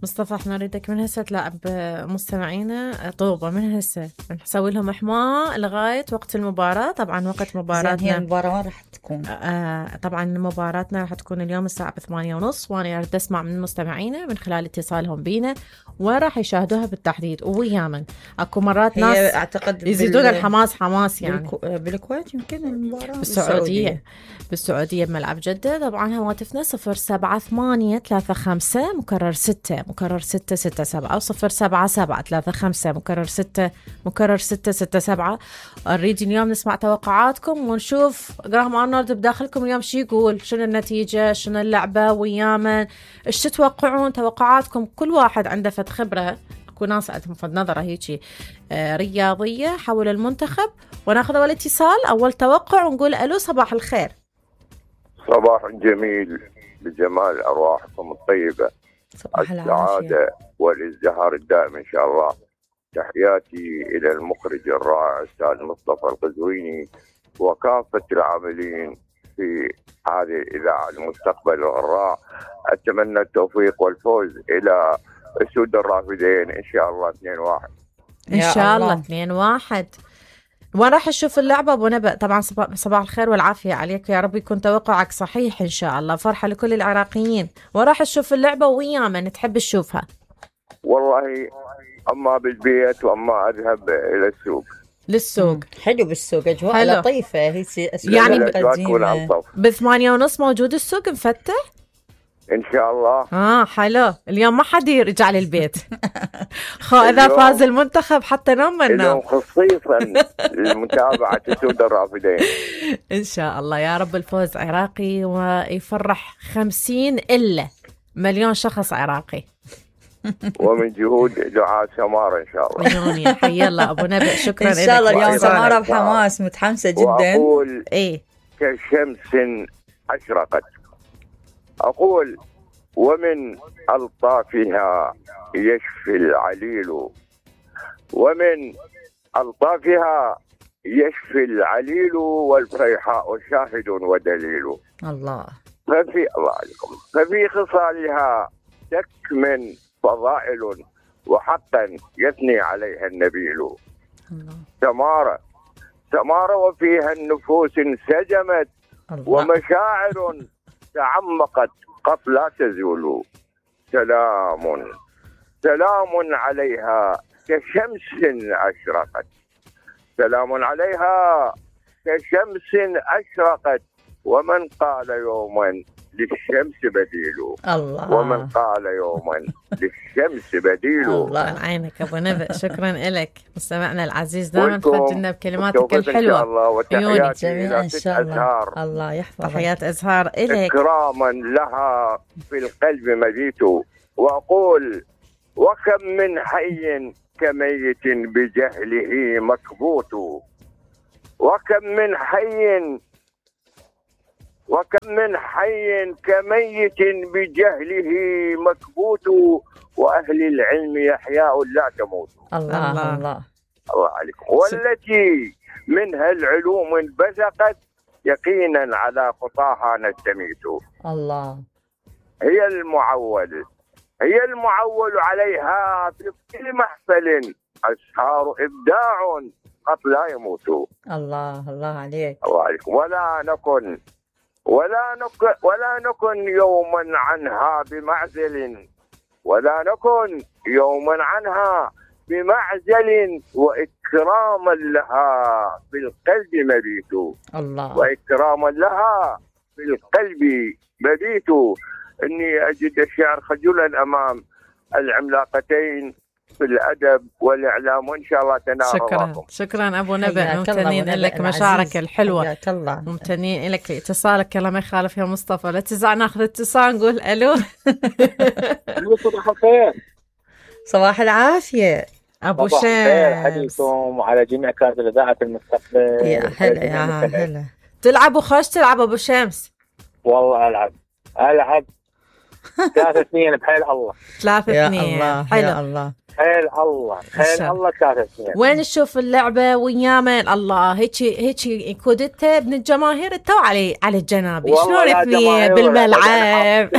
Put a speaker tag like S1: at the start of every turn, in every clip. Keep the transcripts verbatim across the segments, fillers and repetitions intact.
S1: مصطفى احنا نريدك من هسه تلاعب مستمعينا طوبة من هسه، نسوي لهم إحماء لغاية وقت المباراة. طبعا وقت مباراتنا
S2: هي المباراة وين راح تكون؟
S1: آه طبعا مباراتنا راح تكون اليوم الساعة بثمانية ونص، وأنا أريد أسمع من مستمعينا من خلال اتصالهم بينا وين راح يشاهدوها بالتحديد ويامن. أكو مرات ناس
S2: أعتقد
S1: يزيدون بال... الحماس حماس يعني
S2: بالكو... بالكويت يمكن المباراة
S1: بالسعودية بالسعودية, بالسعودية بملعب جدة. طبعا هواتفنا صفر سبعة ثمانية ثلاثة خمسة مكرر ستة مكرر ستة ستة سبعة أو صفر سبعة سبعة ثلاثة خمسة مكرر ستة مكرر ستة ستة سبعة. نريد اليوم نسمع توقعاتكم ونشوف جراهام أرنولد بداخلكم اليوم شو يقول، شنو النتيجة، شنو اللعبة ويامن، ايش تتوقعون توقعاتكم. كل واحد عنده فد خبرة، اكو ناس عندهم فد نظرة هيجي آه رياضية حول المنتخب. وناخذ اول اتصال، اول توقع ونقول الو صباح الخير.
S3: صباح جميل بجمال ارواحكم الطيبة،
S2: صباح
S3: السعادة والازدهار الدائم ان شاء الله. تحياتي الى المخرج الرائع الاستاذ مصطفى القزويني وكافة العاملين في هذه الإذاعة المستقبل الراء. أتمنى التوفيق والفوز إلى أسود الرافدين إن شاء الله اثنين واحد
S1: إن شاء الله اثنين واحد. وين راح نشوف اللعبة أبو نبأ؟ طبعا صباح الخير والعافية عليك، يا رب يكون توقعك صحيح إن شاء الله. فرحة لكل العراقيين. وين راح نشوف اللعبة ويا من تحب تشوفها؟
S3: والله أما بالبيت وأما أذهب إلى السوق.
S1: للسوق
S2: حلو بالسوق، أجواء لطيفة هي
S1: يعني بثمانية ونص موجود السوق مفتح
S3: إن شاء الله.
S1: آه حلو. اليوم ما حد يرجع للبيت خو إذا فاز المنتخب حتى نوم من
S3: اليوم خصيصا لمتابعة أسود الرافدين
S1: إن شاء الله. يا رب الفوز عراقي ويفرح خمسين إلا مليون شخص عراقي
S3: ومن جهود دعاء سمارة إن شاء الله.
S1: عيوني حي الله أبو نبأ، شكرا
S2: إن شاء الله. اليوم سمارة بحماس متحمسة جدا.
S3: وأقول
S1: إيه
S3: كشمس أشرقت، أقول ومن ألطافها يشفي العليل، ومن ألطافها يشفي العليل والفيحاء شاهد ودليل.
S2: الله.
S3: ففي الله عليكم ففي خصالها تكمن فضائل وحقا يثني عليها النبيل. سمارة سمارة وفيها النفوس انسجمت الله. ومشاعر تعمقت قد لا تزول. سلام سلام عليها كشمس أشرقت، سلام عليها كشمس أشرقت. ومن قال يوما للشمس بديل
S2: الله.
S3: ومن قال يوما للشمس بديل.
S1: الله عن عينك أبو نبأ، شكرا لك مستمعنا العزيز، دائما تخرجنا بكلماتك الحلوة.
S3: الله وتحياتي إلى
S2: إن شاء الله.
S3: أزهار.
S2: الله يحفظك.
S1: تحيات أزهار إليك.
S3: إكراما لها في القلب مجيت، وأقول وكم من حي كميت بجهله مكبوت، وكم من حي وكم من حي كميت بجهله مكبوت، وأهل العلم يحياء لا تموت.
S2: الله الله الله,
S3: الله عليكم. والتي منها العلوم انبثقت يقينا على خطاها نستميت.
S2: الله.
S3: هي المعول هي المعول عليها في كل محفل أسهار إبداع قد لا يموت.
S2: الله الله عليك.
S3: الله عليكم. ولا نكن ولا نكن ولا نكن يوما عنها بمعزل، ولا نكن يوما عنها بمعزل، وإكراما لها بالقلب مبيت.
S2: الله.
S3: وإكراما لها بالقلب مبيت. إني أجد الشعر خجلا أمام العملاقتين في الأدب والإعلام، وإن شاء الله تنال
S1: شكرا
S3: رضاكم.
S1: شكرا أبو نبأ، ممتنين لك مشاعرك الحلوة،
S2: الله.
S1: ممتنين لك لاتصالك. الله ما يخالف يا مصطفى. لا تزع ناخذ اتصال نقول ألو.
S4: صباح الخير.
S2: صباح العافية
S1: أبو شمس.
S4: عليكم وعلى جميع كادر إذاعة المستقبل.
S2: يا هلا يا هلا.
S1: تلعب وخش تلعب أبو شمس؟
S4: والله ألعب ألعب ثلاثة اثنين بحيل الله.
S1: ثلاثة اثنين
S2: حلو. يا الله.
S4: خيل الله خيل الله ثلاث سنين.
S1: وين نشوف اللعبه وياما الله هيك هيك كودته ابن الجماهير تو علي على الجنابي شلون اثنين بالملعب.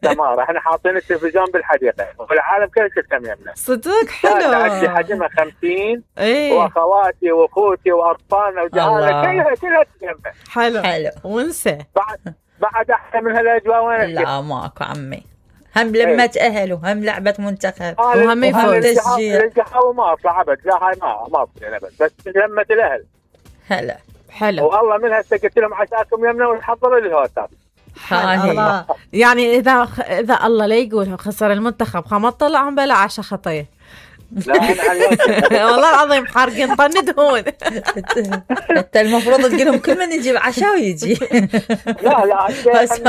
S4: تمام احنا حاطين التلفزيون بالحديقه والعالم كله تهتم يمنا
S1: صدق حلو.
S4: عندي حجمها خمسين
S1: ايه
S4: واخواتي واخوتي واطفالنا وجيراننا كلها كلها تهتم.
S1: حلو
S2: حلو
S1: ونسى
S4: بعد بعد احسن من هالاجواء وين؟
S2: لا ماكو عمي، هم لمة اهل وهم لعبة منتخب
S1: وهم يفوز
S2: تشجيع.
S4: القهوه ما اطلع ابد، لا هاي ما ما اطلع ابد، بس لمة الاهل.
S2: هلا
S1: حلو
S4: والله من هسه قلت لهم عساكم يمنا ونحضروا للهوتات.
S2: هاي
S1: الله. يعني اذا اذا الله لا يقول خسر المنتخب خمس طلعهم بلا عشاء خطيه.
S4: لا انا
S1: والله العظيم حارقين طن دهون.
S2: انت المفروض تقول لهم كل من يجيب عشاء ويجي.
S4: لا لا بس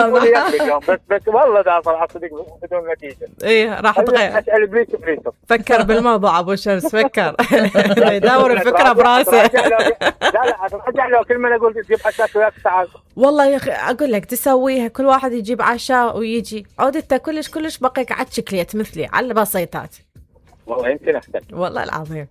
S4: بس والله دا صراحه صدق بدون نتيجه.
S1: ايه راح تغير.
S4: اسال ابليس ابليس
S1: فكر بالموضوع ابو شمس فكر. يدور الفكره براسه.
S4: لا لا ارجع له كل ما اقول تجيب عشاء وياك تعال.
S1: والله يا اخي اقول لك تسويها كل واحد يجيب عشاء ويجي عود انت كلش كلش بقيك عاد شكليت مثلي على البسيطات.
S4: والله يمكن احسن
S1: والله العظيم.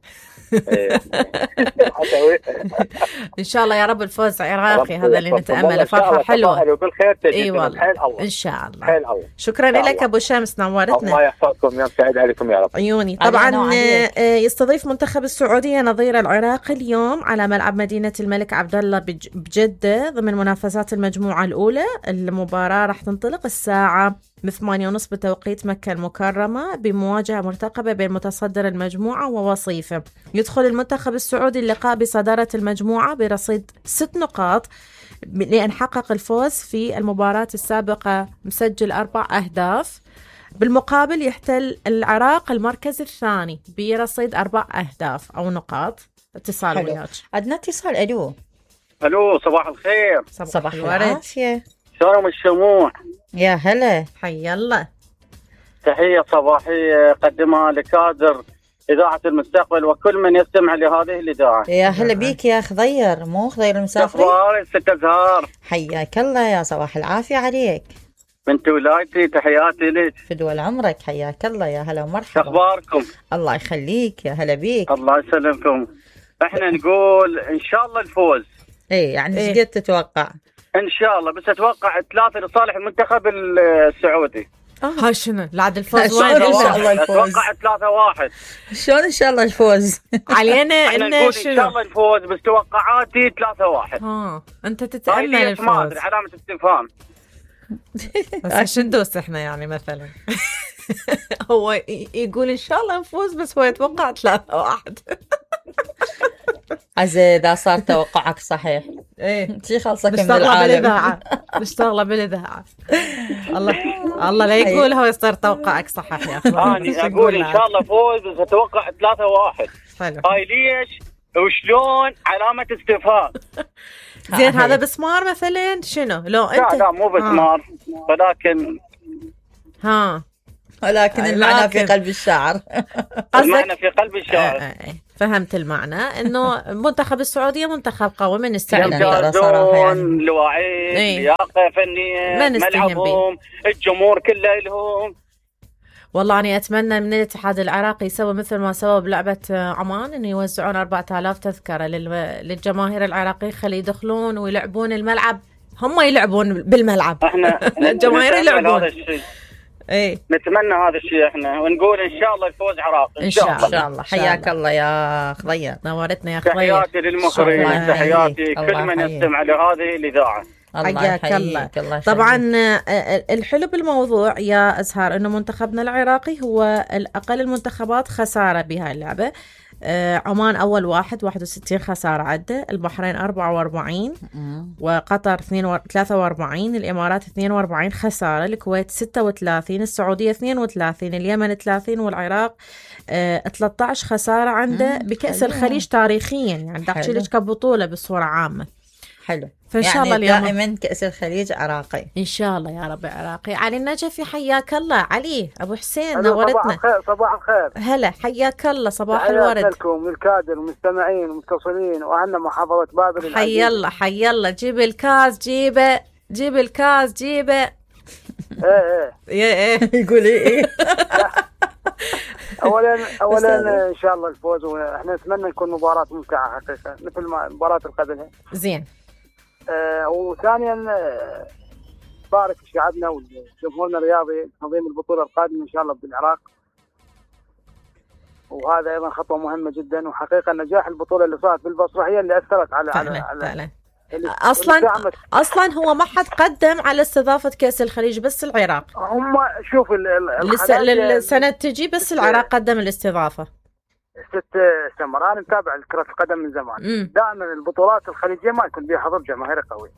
S1: ان شاء الله يا رب الفوز عراقي هذا اللي نتامله فرحه حلوه
S4: بالخير تجي.
S1: اي والله
S4: الله.
S1: ان شاء الله.
S4: حيل الله.
S1: شكرا لك ابو شمس نورتنا.
S4: الله يحفظكم يوم سعيد عليكم يا رب.
S1: عيوني. طبعا يستضيف منتخب السعوديه نظير العراق اليوم على ملعب مدينه الملك عبد الله بجده ضمن منافسات المجموعه الاولى. المباراه راح تنطلق الساعه بثمانية ونص بتوقيت مكة المكرمة بمواجهة مرتقبة بين متصدر المجموعة ووصيفه. يدخل المنتخب السعودي اللقاء بصدارة المجموعة برصيد ست نقاط لأن حقق الفوز في المباراة السابقة مسجل أربع أهداف. بالمقابل يحتل العراق المركز الثاني برصيد أربع أهداف أو نقاط. اتصال وياك.
S2: عندنا اتصال. ألو
S5: الو صباح الخير.
S2: صباح, صباح العافية.
S5: شلونكم الشموع؟
S2: يا هلا
S1: حي الله.
S5: تحية صباحية قدمها لكادر إذاعة المستقبل وكل من يستمع لهذه الإذاعة.
S2: يا هلا بيك يا خضير، مو خضير المسافري.
S5: أخبارك ست أزهار؟
S2: حياك الله يا صباح العافية عليك.
S5: بنت ولايتي تحياتي لك.
S2: فدوى عمرك حياك الله يا هلا ومرحبا.
S5: أخباركم؟
S2: الله يخليك يا هلا بيك.
S5: الله يسلمكم. احنا نقول إن شاء الله الفوز.
S2: إيه يعني ايش
S1: إيه؟
S2: قد تتوقع؟
S5: إن شاء الله، بس أتوقع ثلاثة لصالح المنتخب السعودي.
S1: ها شنو العاد الفوز
S2: وين
S1: وين؟
S2: إن شاء الله الفوز.
S5: أتوقع ثلاثة واحد.
S2: شلون إن شاء الله الفوز؟
S1: علينا
S5: احنا
S1: إنه
S5: نقول إن شاء
S1: شنو؟
S5: الله الفوز، بس توقعاتي ثلاثة واحد.
S1: ها أنت
S5: هاي
S1: تتأمل
S5: ليش ما
S1: الفوز
S5: أدري، علامة استفهام.
S1: بس شو ندوس احنا يعني مثلا. هو ي- يقول ان شاء الله نفوز بس هو يتوقع ثلاثة واحد.
S2: عزيز إذا صار توقعك صحيح
S1: ايه
S2: شي خلصك من
S1: نشتغل
S2: العالم.
S1: بالاذاعه نشتغل بالاذاعه. الله الله لا يقول هو يصير توقعك صحيح يا اخي.
S5: أنا أقول إن شاء الله فوز، بس أتوقع ثلاثة واحد.
S1: حلو.
S5: هاي ليش وشلون علامة استفهام.
S1: زين هذا بسمار مثلا شنو لو
S5: لا
S1: انت
S5: لا مو بسمار، ولكن
S1: ها
S2: ولكن المعنى في
S1: لكن-
S2: قلب الشعر.
S5: المعنى
S1: قصدك
S5: في قلب الشاعر.
S1: آه، آه، فهمت المعنى انه منتخب السعوديه منتخب قوي من
S2: فعلاً.
S1: استعداد.
S2: ترى صراحة يعني.
S5: يمتازون لواعيين،
S1: إيه.
S5: لياقة فنية،
S1: ما نستهين
S5: ملعبهم، الجمهور كله لهم.
S1: والله أنا أتمنى من الاتحاد العراقي يسوي مثل ما سوى بلعبة عمان إنه يوزعون أربعة آلاف تذكرة لل- للجماهير العراقية خلي يدخلون ويلعبون الملعب، هم يلعبون بالملعب.
S5: احنا
S1: الجماهير
S5: نتمنى
S1: يلعبون.
S5: هذا الشيء،
S1: إيه
S5: نتمنى هذا الشيء احنا، ونقول ان شاء الله الفوز عراقي
S1: إن شاء
S2: إن
S1: الله.
S2: شاء الله. حياك الله يا خضير.
S1: نورتنا يا خضير.
S5: تحياتي للمخرج،
S2: الله
S5: تحياتي
S2: يحييك.
S5: كل
S2: الله
S5: من
S2: يحييك.
S5: يستمع لهذه الإذاعة.
S2: الله
S1: حياك
S2: يحييك.
S1: الله.
S2: الله يخليك.
S1: طبعا آه، الحلو بالموضوع يا أزهار إنه منتخبنا العراقي هو الأقل المنتخبات خسارة بهاي اللعبة. آه، عمان أول واحد واحد وستين خسارة عنده، البحرين أربعة وأربعين،
S2: مم.
S1: وقطر اثنين و- ثلاثة وأربعين، الإمارات اثنين وأربعين خسارة، الكويت ستة وثلاثين، السعودية اثنين وثلاثين، اليمن ثلاثين، والعراق آه، ثلاثة عشر خسارة عنده
S2: مم،
S1: بكأس
S2: حلو.
S1: الخليج تاريخيا، يعني
S2: حلو.
S1: داخل كبطولة بصورة عامة.
S2: حلو.
S1: فإن شاء
S2: يعني
S1: الله اليوم
S2: دائما كأس الخليج عراقي.
S1: إن شاء الله يا رب عراقي. علي النجفي حياك الله. علي أبو حسين
S6: ألو، صباح
S1: نورتنا.
S6: الخير. صباح الخير.
S1: هلا حياك الله. صباح
S6: تحياتي
S1: الورد.
S6: لكم للكادر المستمعين المتصلين وعنا محافظة بابل
S1: حي
S6: العزيزة.
S1: الله حي الله. جيب الكاس جيبه، جيب الكاس جيبه.
S6: ايه ايه
S1: يا ايه
S2: يقول ايه.
S6: اولا اولا ان شاء الله الفوز، واحنا نتمنى نكون مباراه ممتعه حقيقه مثل ما مباراه القبلها.
S1: زين.
S6: آه وثانيا آه بارك شعبنا وجمهورنا الرياضي تنظيم البطوله القادمه ان شاء الله بالعراق، وهذا ايضا خطوه مهمه جدا. وحقيقه نجاح البطوله اللي صارت بالبصره هي اللي اثرت على
S1: فعلا
S6: على,
S1: فعلا.
S6: على
S1: اصلا اصلا هو ما حد قدم على استضافه كاس الخليج، بس العراق.
S6: هم شوف
S1: السنه تجي بس العراق قدم الاستضافه.
S6: ست سنوات انا متابع كره القدم من زمان. دائما البطولات الخليجيه ما يكون بها حضور جماهيري قوي،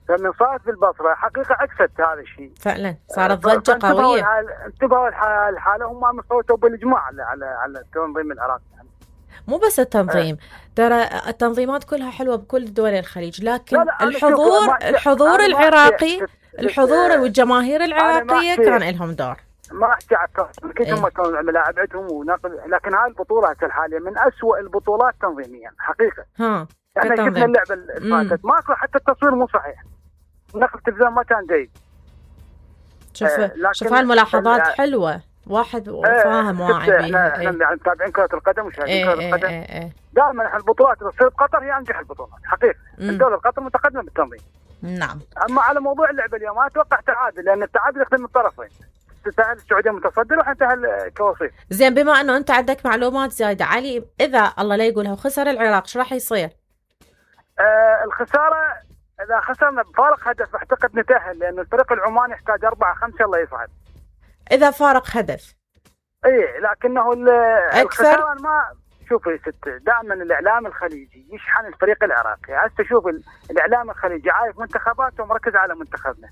S6: فمن صارت بالبصره حقيقه عكست هذا الشيء
S1: فعلا، صارت ضجه قويه.
S6: انتبهوا الحاله، هم مصوتوا بالاجماع على على على تنظيم العراق.
S1: مو بس التنظيم، ترى التنظيمات كلها حلوه بكل دول الخليج، لكن
S6: لا لا
S1: الحضور الحضور العراقي، الحضور والجماهير العراقيه كان لهم دور.
S6: ما احكي على اكيد هم كانوا ملاعبتهم ونقل، لكن هاي البطوله الحاليه من أسوأ البطولات تنظيميا حقيقه.
S1: ها
S6: احنا شفنا اللعبه اللي فاتت ماكو، حتى التصوير مو صحيح، نقل التلفزيون ما كان جيد.
S1: شوف آه شوف هالملاحظات حلوه، واحد فاهم واعي
S6: بيها. احنا يعني متابعين كره القدم وشاهدين كره القدم. ايه ايه ايه. دائما احنا البطولات اللي تصير بقطر هي انجح البطولات حقيقه. الدوله قطر متقدمه بالتنظيم.
S1: نعم.
S6: اما على موضوع اللعبه اليوم ما اتوقع تعادل، لان التعادل يخدم الطرفين. تسهل السعوديه متصدر واحنا انتهى كوصيف.
S1: زين، بما انه انت عندك معلومات زايده علي، اذا الله لا يقولها وخسر العراق ايش راح يصير؟
S6: آه الخساره اذا خسرنا بفارق هدف اعتقد نتاهل، لان الفريق العماني يحتاج أربعة خمسة الله يصعد.
S1: اذا فارق هدف.
S6: ايه لكنه الخساره ما شوفي ست، دائما الاعلام الخليجي يشحن الفريق العراقي. هسه شوف الاعلام الخليجي عايف منتخباته ومركز على منتخبنا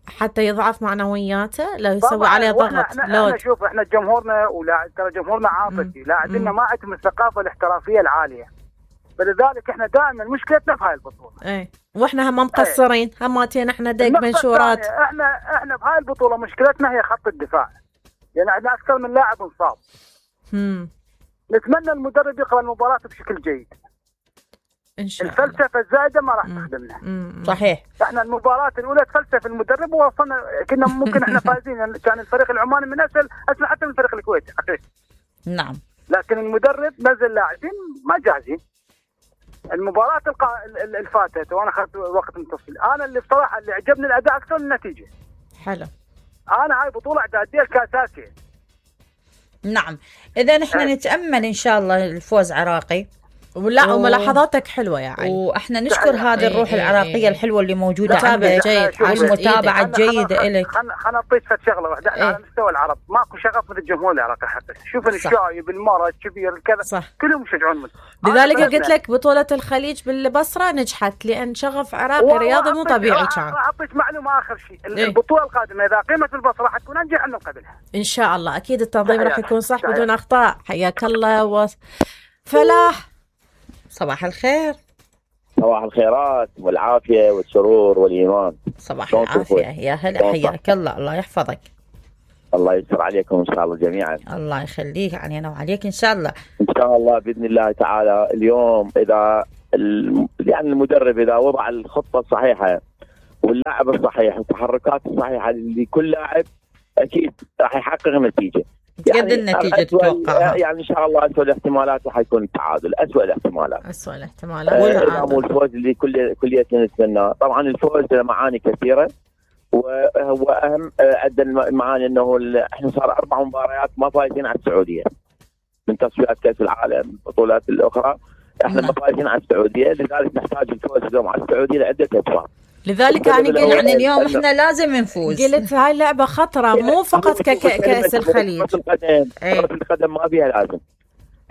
S1: حتى يضعف معنوياته، لو يسوي عليه ضغط.
S6: احنا, احنا شوف احنا جمهورنا ولا ترى جمهورنا عاطفي، لاعبينا ما عندهم الثقافه الاحترافيه العاليه، فلذلك احنا دائما مشكلتنا في هاي البطوله.
S1: ايه واحنا هم مقصرين، ايه. هماتين احنا دق منشورات.
S6: احنا احنا بهاي البطوله مشكلتنا هي خط الدفاع، يعني عندنا اكثر من لاعب مصاب.
S1: امم
S6: نتمنى المدرب يقرا المباراه بشكل جيد
S1: ان شاء الله.
S6: الفلسفه الزايده ما راح تخدمنا.
S1: صحيح.
S6: احنا المباراه الاولى تفلسف المدرب ووصلنا، كنا ممكن احنا فايزين، كان الفريق العماني من اسهل اسهل حتى من الفريق الكويتي حقيقي.
S1: نعم.
S6: لكن المدرب نزل لاعبين ما جاهزين. المباراه القا... اللي فاتت وانا اخذت وقت من التفصيل، انا اللي بصراحه اللي عجبني الاداء اكثر من النتيجه.
S1: حلو.
S6: انا هاي بطوله اعداديه الكاساسيه.
S2: نعم، اذا نحن أه. نتامل ان شاء الله الفوز عراقي.
S1: ولا و... وملاحظاتك حلوه يا علي،
S2: واحنا نشكر هذه الروح ايه العراقيه ايه الحلوه اللي موجوده
S1: عندك،
S2: والمتابعه الجيده لك.
S6: خلنا خلنا نعطيك شغله واحده. احنا ايه. على مستوى العرب ماكو شغف مثل الجمهور العراقي حتى. شوف الشايب المرأة الكبير كذا كلهم يشجعون مثل.
S1: لذلك قلت لك بطوله الخليج بالبصره نجحت، لان شغف عراقي رياضي مو طبيعي كان.
S6: راح اعطيك معلومه اخر شيء، ايه. البطوله القادمه اذا قيمت البصره حتكون انجح من قبلها
S1: ان شاء الله. اكيد التنظيم راح يكون صح بدون اخطاء. حياك الله و... فلاح،
S2: صباح الخير.
S7: صباح الخيرات والعافية والسرور والإيمان.
S2: صباح العافية، يا هلا، حياك الله، الله يحفظك.
S7: الله يستر عليكم إن شاء الله جميعا.
S2: الله يخليك، علينا وعليك إن شاء الله.
S7: إن شاء الله بإذن الله تعالى. اليوم إذا يعني المدرب إذا وضع الخطة الصحيحة واللاعب الصحيح والتحركات الصحيحة لكل لاعب أكيد راح يحقق نتيجة.
S2: قد النتيجة تتوقعها؟
S7: يعني إن شاء الله أسوأ الاحتمالات راح يكون التعادل، أسوأ الاحتمالات.
S1: أسوأ الاحتمالات.
S7: آه مو الفوز اللي كل كلية نتمناه. طبعا الفوز له معاني كثيرة، وهو أهم عدة المعاني أنه إحنا صار أربع مباريات ما فايزين على السعودية من تصفيات كأس العالم البطولات الأخرى. إحنا ما فايزين على السعودية، لذلك نحتاج الفوز اليوم على السعودية لعدة أسباب.
S1: لذلك يعني قلت
S2: يعني اليوم احنا لازم نفوز.
S1: قلت هاي اللعبه خطره، مو فقط ككاس الخليج.
S7: كرة القدم كرة القدم ما فيها لازم،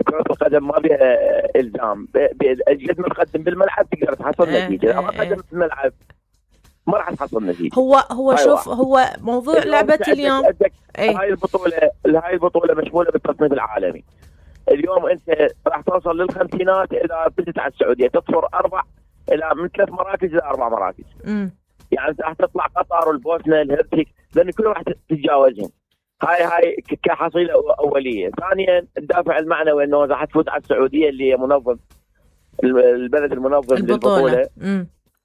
S7: كرة القدم ما فيها الزام. قد ما تقدم بالملعب تقدر تحصل نتيجه، اذا ما قدمت بالملعب ما راح تحصل نتيجه.
S1: هو هو شوف هو موضوع لعبه اليوم.
S7: هاي البطوله هاي البطوله مشموله بالتصنيف العالمي. اليوم انت راح توصل للخمسينات اذا بدت على السعوديه تصفر اربع الى من ثلاث مراكز الى اربع مراكز.
S1: امم
S7: يعني راح تطلع قطر والبوسنه الهرسك، لان كلهم راح تتجاوزهم. هاي هاي كحصيله اوليه. ثانيا الدافع المعنوي انه راح تفوز على السعوديه اللي هي منظم البلد المنظم للبطوله.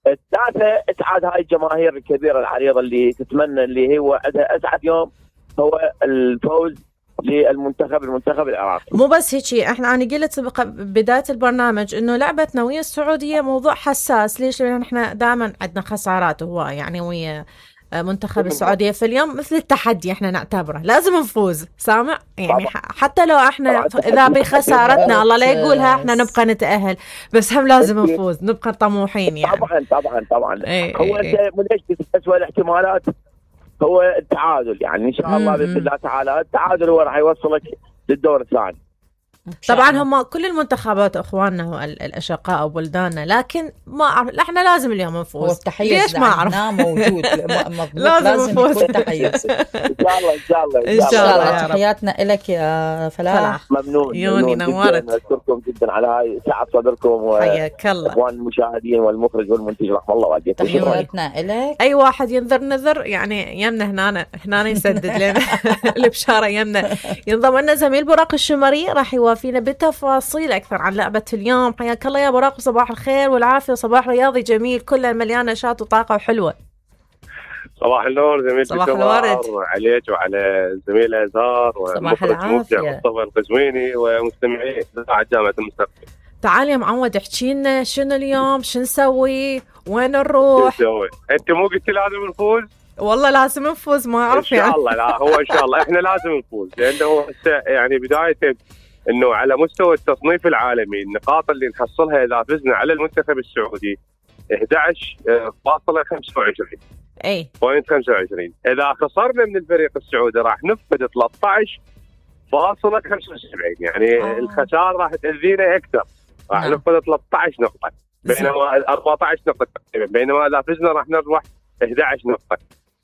S7: الثالثه اسعاد هاي الجماهير الكبيره العريضه اللي تتمنى، اللي هو عندها اسعد يوم هو الفوز للمنتخب المنتخب العراقي.
S1: مو بس هيك، احنا انا قلت بدايه البرنامج انه لعبتنا ويا السعوديه موضوع حساس. ليش؟ لان احنا دائما عندنا خسارات هواي يعني ويا منتخب السعوديه، في اليوم مثل التحدي احنا نعتبره لازم نفوز. سامع يعني طبعا. حتى لو احنا اذا بخسارتنا الله لا يقولها احنا نبقى نتاهل، بس هم لازم نفوز، نبقى طموحين يعني.
S7: طبعا طبعا طبعا
S1: ايه
S7: هو
S1: ايه
S7: انت منجز اسوء الاحتمالات هو التعادل، يعني ان شاء الله باذن الله تعالى التعادل هو راح يوصلك للدور الثاني.
S1: طبعا هم كل المنتخبات اخواننا والاشقاء وبلداننا، لكن ما أعرف احنا لازم اليوم نفوز.
S2: هو التحيز
S1: ليش ما اعرف
S2: موجود
S1: لازم,
S2: لازم
S1: نفوز.
S2: يكون تحيز.
S7: ان شاء الله ان شاء الله
S1: ان شاء الله.
S2: تحياتنا لك يا فلاح.
S7: ممنون
S1: يوني نورت.
S7: اشكركم جدا على هاي سعه صدركم،
S1: حياك الله.
S7: اخوان المشاهدين والمخرج والمنتج رحم الله والديكم.
S2: تحياتنا لك.
S1: اي واحد ينذر نذر يعني يمنا هنا هنا يسدد لنا البشاره يمنا. ينضم لنا زميل براق الشمري راح يوافينا بتفاصيل اكثر عن لعبه اليوم. حياك الله يا براق، صباح الخير والعافيه، صباح رياضي جميل كله مليان نشاط وطاقه وحلوه.
S8: صباح النور زميل
S1: صباح الورد
S8: عليك وعلى الزميل ازهار
S2: ومخرج مبدع
S8: مصطفى القزويني ومستمعي اذاعه جامعه المستقبل.
S1: تعال يا معود احكي لنا شنو اليوم، شو نسوي، وين نروح؟
S8: شو نسوي؟ انت مو قلتي لازم نفوز؟
S1: والله لازم نفوز، ما اعرف
S8: يعني ان شاء الله. لا هو ان شاء الله احنا لازم نفوز، لانه يعني بدايه انه على مستوى التصنيف العالمي النقاط اللي نحصلها اذا فزنا على المنتخب السعودي احد عشر فاصلة خمسة وعشرين
S1: اي
S8: بوينت خمسة وعشرين. اذا خسرنا من الفريق السعودي راح نفقد ثلاثة عشر فاصلة خمسة وسبعين، يعني آه. الخساره راح تاذينا اكثر، راح
S2: نعم.
S8: نفقد ثلاثة عشر نقطه بينما أربعة عشر نقطه تقريبا، بينما اذا فزنا راح نربح احد عشر نقطه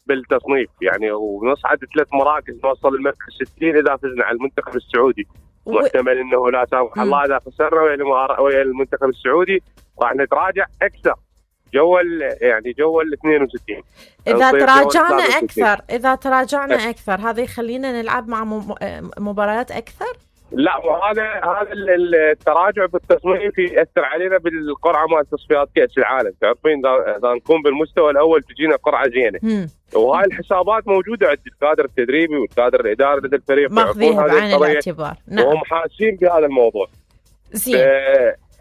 S8: بالتصنيف يعني، ونصعد ثلاث مراكز نوصل المركز ستين اذا فزنا على المنتخب السعودي. محتمل انه لا سامح الله اذا خسرنا ويا المنتخب السعودي راح نتراجع اكثر جو يعني جو ال اثنين وستين.
S1: اذا تراجعنا اكثر اذا تراجعنا اكثر هذا يخلينا نلعب مع مباريات اكثر.
S8: لا وهذا هذا التراجع بالتصنيف ياثر علينا بالقرعه مال تصفيات كاس العالم. تعرفين اذا نكون بالمستوى الاول تجينا قرعه زينه، وهاي الحسابات موجوده عند الكادر التدريبي والكادر الاداري لدى الفريق،
S1: ماخذينها بعين الاعتبار.
S8: نعم. وهم حاسين بهذا الموضوع.
S1: زين.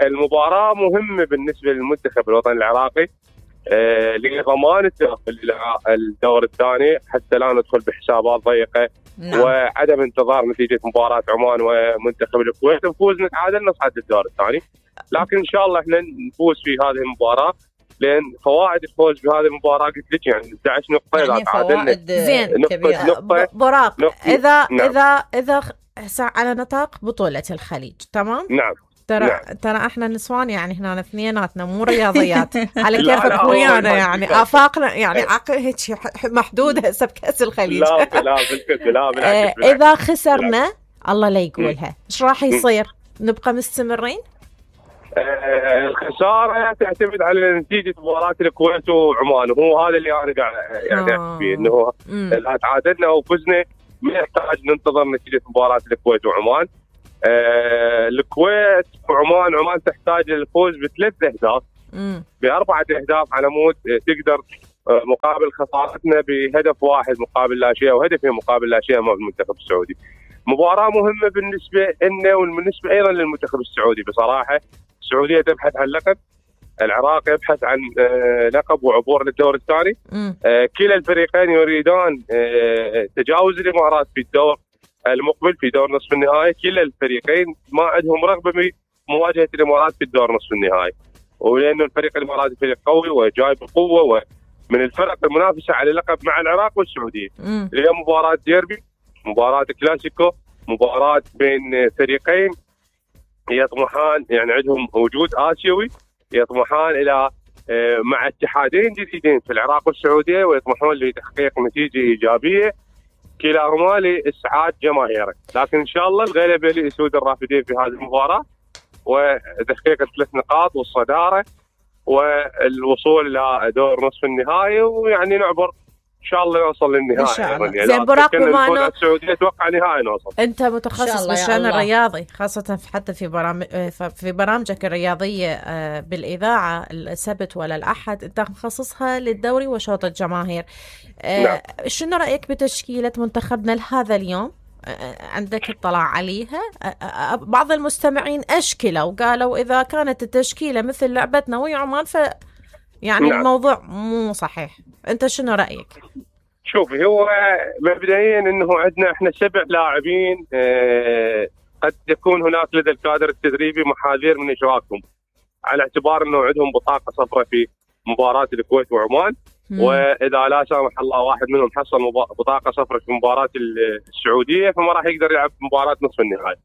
S8: المباراه مهمه بالنسبه للمنتخب الوطني العراقي آه لضمان التاهل الى الدور الثاني حتى لا ندخل بحسابات ضيقه. نعم. وعدم انتظار نتيجه مباراه عمان ومنتخب الكويت، نفوز نتعادل نصعد للدور الثاني. لكن ان شاء الله احنا نفوز في هذه المباراه، لان فوائد الفوز بهذه المباراه قلت لك يعني احد عشر نقطه اذا
S2: يعني
S8: تعادلنا.
S1: زين
S8: نقطه
S1: براق اذا
S8: نعم.
S1: اذا اذا على نطاق بطوله الخليج تمام.
S8: نعم
S1: ترى
S8: نعم.
S1: ترى احنا نسوان يعني هنا اثنيناتنا مو رياضيات على كيفك ويانا يعني افاقنا يعني عقل هيك محدوده هسه بكاس الخليج.
S8: لا لا بالكذب لا بالعكس.
S1: اذا خسرنا الله لا يقولها ايش راح يصير؟ نبقى مستمرين؟
S8: آه الخساره تعتمد على نتيجه مباراه الكويت وعمان، وهو هذا اللي انا قاعد يعني احكي فيه، انه اذا تعادلنا او فزنا ما يحتاج ننتظر نتيجه مباراه الكويت وعمان. آه الكويت وعمان، عمان تحتاج للفوز بثلاث اهداف باربعه اهداف على مود تقدر آه مقابل خسارتنا بهدف واحد مقابل لا شيء، وهدفين مقابل لا شيء امام المنتخب السعودي. مباراه مهمه بالنسبه لنا وبالنسبه ايضا للمنتخب السعودي. بصراحه السعوديه تبحث عن لقب، العراق يبحث عن آه لقب وعبور للدور الثاني. آه كلا الفريقين يريدان آه تجاوز الامارات في الدور المقبل في دور نصف النهائي. كلا الفريقين ما عندهم رغبه بمواجهه الامارات في الدور نصف النهائي، ولانه الفريق الاماراتي فريق قوي وجاي بقوه ومن الفرق المنافسه على اللقب مع العراق والسعوديه. اليوم مباراه ديربي، مباراه كلاسيكو، مباراه بين فريقين يطمحان يعني عندهم وجود اسيوي، يطمحان الى مع اتحادين جديدين في العراق والسعوديه، ويطمحون لتحقيق نتيجه ايجابيه كلاهما لاسعاد جماهيره. لكن ان شاء الله الغلبه لاسود الرافدين في هذه المباراه وتحقيق الثلاث نقاط والصداره والوصول الى دور نصف النهائي، ويعني نعبر ان شاء الله نوصل للنهائي.
S1: ان شاء الله. يعني زين براق، بما انه
S8: السعوديه اتوقع نهائي نوصل.
S1: انت متخصص بالشان الرياضي خاصه حتى في برامج في برامجك الرياضيه بالاذاعه السبت ولا الاحد انت مخصصها للدوري وشوط الجماهير. نعم. شنو رايك بتشكيله منتخبنا لهذا اليوم عندك اطلاع عليها؟ بعض المستمعين أشكلوا وقالوا إذا كانت التشكيلة مثل لعبتنا ويا عمان ف يعني نعم. الموضوع مو صحيح. أنت شنو رأيك؟
S8: شوفي، هو مبدئيا أنه عندنا إحنا سبع لاعبين، أه قد يكون هناك لدى الكادر التدريبي محاذير من إشراكهم على اعتبار أنه عندهم بطاقة صفراء في مباراة الكويت وعمان. مم. وإذا لا سامح الله واحد منهم حصل بطاقة صفراء في مباراة السعودية فما راح يقدر يلعب مباراة نصف النهائي.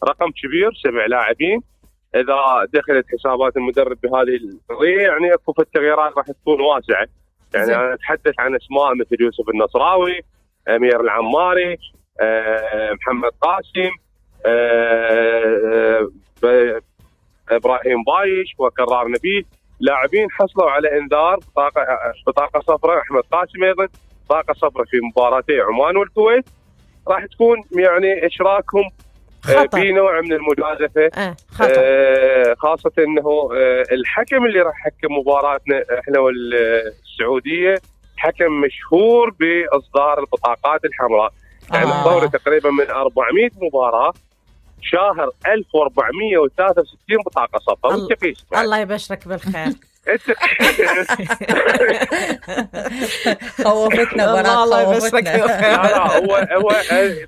S8: رقم كبير، سبع لاعبين. إذا دخلت حسابات المدرب بهذه القضية يعني أكو التغييرات راح تكون واسعة. يعني زي. أنا أتحدث عن أسماء مثل يوسف النصراوي، أمير العماري، أه محمد قاسم، أه أه إبراهيم بايش وكرار نبيل، لاعبين حصلوا على انذار بطاقه بطاقه صفراء. احمد قاسم ايضا بطاقه صفراء في مباراتي عمان والكويت. راح تكون يعني اشراكهم خطر. في نوع من المجازفه،
S1: آه
S8: آه خاصه انه آه الحكم اللي راح يحكم مباراتنا احنا والسعوديه حكم مشهور باصدار البطاقات الحمراء. يعني آه. الدوري تقريبا من أربعمئة مباراه شاهر ألف وأربعمئة وثلاثة وستين بطاقه صفراء.
S1: الله, الله يبشرك بالخير.
S2: خوفتنا براء،
S1: الله يبشرك بالخير.
S8: لا هو هو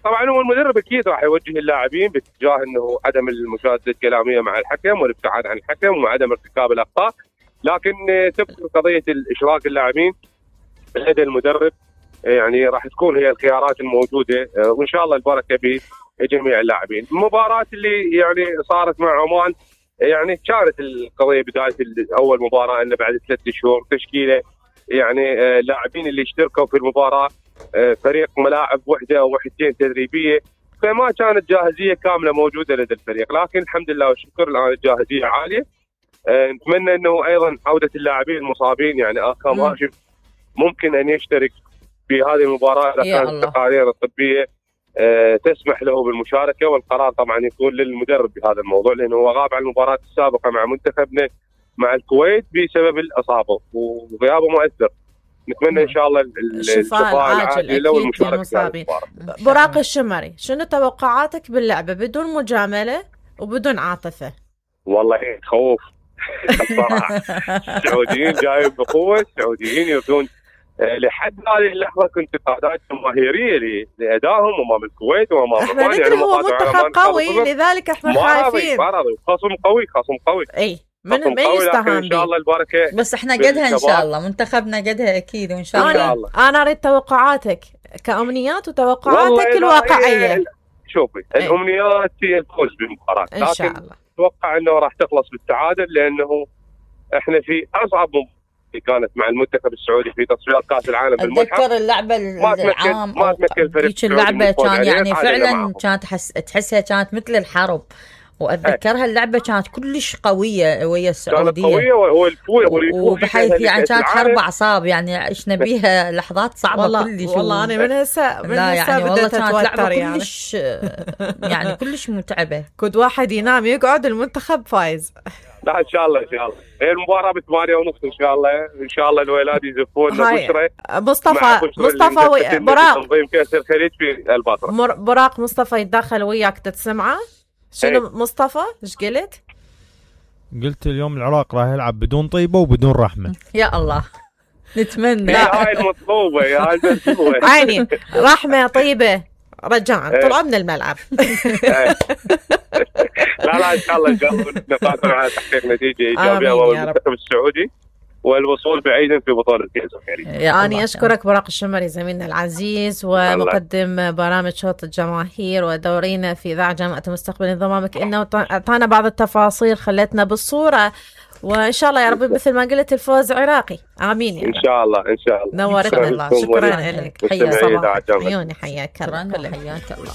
S8: طبعا هو المدرب اكيد راح يوجه اللاعبين باتجاه انه عدم المشادة الكلاميه مع الحكم والابتعاد عن الحكم وعدم ارتكاب الاخطاء، لكن تبقى قضيه الاشراك اللاعبين لدى المدرب يعني راح تكون هي الخيارات الموجوده، وان شاء الله البركه بجميع اللاعبين. المباراه اللي يعني صارت مع عمان يعني كانت القضيه بدايه اول مباراه انه بعد ثلاثة شهور تشكيله يعني اللاعبين اللي اشتركوا في المباراه فريق ملاعب وحده او وحدتين تدريبيه، فما كانت جاهزيه كامله موجوده لدى الفريق، لكن الحمد لله والشكر الان الجاهزيه عاليه. نتمنى انه ايضا عوده اللاعبين المصابين يعني اكرم هاشم ممكن ان يشترك في هذه المباراه اذا كانت التقارير الطبيه أه تسمح له بالمشاركه، والقرار طبعا يكون للمدرب بهذا الموضوع لانه هو غاب عن المباراه السابقه مع منتخبنا مع الكويت بسبب الاصابه وغيابه مؤثر. نتمنى ان شاء الله
S1: الشفاء العاجل له والمشاركه. براق الشمري، شنو توقعاتك باللعبه بدون مجامله وبدون عاطفه؟
S8: والله خوف الصراحه. السعوديين جايين بقوه، السعوديين يردون لحد هذه اللحظه كنت انتقادات جماهيريه لادائهم امام الكويت وامام
S1: عمان. يعني هو منتخب قوي لذلك احنا خايفين.
S8: ما راضي، خصم قوي، خصم قوي.
S1: اي من ما يستهان
S8: ان شاء الله البركه،
S2: بس احنا قدها ان شاء الله، منتخبنا قدها اكيد وان شاء الله.
S1: انا انا اريد توقعاتك كامنيات وتوقعاتك الواقعيه.
S8: شوفي أي. الامنيات هي الفوز بالمباراه،
S1: ان شاء الله
S8: اتوقع انه راح تخلص بالتعادل لانه احنا في اصعب كانت مع المنتخب السعودي في تصفيات كاس العالم بالملحق.
S2: اتذكر اللعبه العام
S8: ما تمكن الفريق
S2: اللعبه كان يعني فعلا كانت تحس تحسها كانت مثل الحرب، واتذكرها اللعبه كانت كلش قويه ويا السعوديه،
S8: كانت قويه والفوز
S2: وبحيث يعني كانت حرب اعصاب، يعني عشنا بيها لحظات صعبه
S1: والله
S2: كلش.
S1: والله انا من هسه من
S2: هسه يعني والله كانت لعبه
S1: يعني.
S2: كلش يعني كلش متعبه.
S1: كنت واحد ينام يقعد المنتخب فايز.
S8: لا ان شاء الله ان شاء الله هي المباراه بثمانية ونص ان شاء الله. ان شاء الله الولاد يزفون بشرى
S1: مصطفى مصطفى براق
S8: تنظيم كاس الخليج في البصره.
S1: براق مصطفى يتدخل وياك تسمعه شنو؟ ايه. مصطفى ايش قلت؟
S9: قلت اليوم العراق راح يلعب بدون طيبه وبدون رحمه.
S2: يا الله نتمنى.
S8: هاي المطلوبه يا هاي المطلوبه.
S1: عيني رحمه طيبه رجاء طلعوا من الملعب.
S8: لا لا ان شاء الله ان شاء الله نقدر على تحقيق نتيجه ايجابيه امام المنتخب السعودي والوصول بعيدا في بطوله كاس الخليج.
S1: أنا أشكرك براق الشمري زميلنا العزيز ومقدم برامج شوط الجماهير ودورينا في إذاعة جامعة المستقبل، انضمامك إنه أعطانا بعض التفاصيل خلتنا بالصورة، وإن شاء الله يا رب مثل ما قلت الفوز عراقي. آمين يا
S8: إن شاء الله إن شاء الله.
S1: نورتنا الله. شكرا لك.
S2: حيا
S1: صباح عيوني حياك الله.
S2: حياك الله.